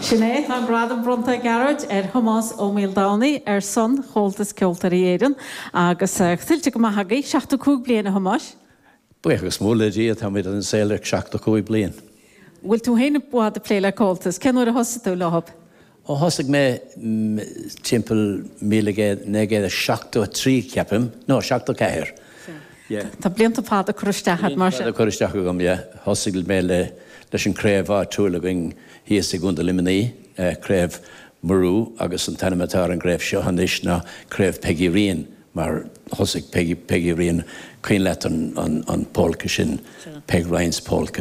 Sin é, tá an gradam bronnta, a Ghearóid, ar Thomás Ó Maoldomhnaigh ar son Chomhaltas Ceoltóirí Éireann agus tuillte go maith agaibh, 75 bliain, a Thomáis. Buíochas mór le Dia, táimid ar an saol le 75 bliain. Bhfuil tú féin i bhfad ag plé le Comhaltas? Cén uair a thosaigh tú leo? Ó thosaigh mé timpeall 1973 ceapaim, no 74, yeah. Tá blianta fada curtha isteach agat mar sin. Blianta fada curtha isteach agam, yeah. Thosaigh mé le leis an craobh áitiúil againn thíos i gContae Luimnigh, Craobh Murú agus an t-ainm atá ar an gcraobh seo anois ná Craobh Peggy Ryan mar thosaigh Peggy, Peggy Ryan, cuimhin leat an an an polka sin, Peg Ryan's Polka.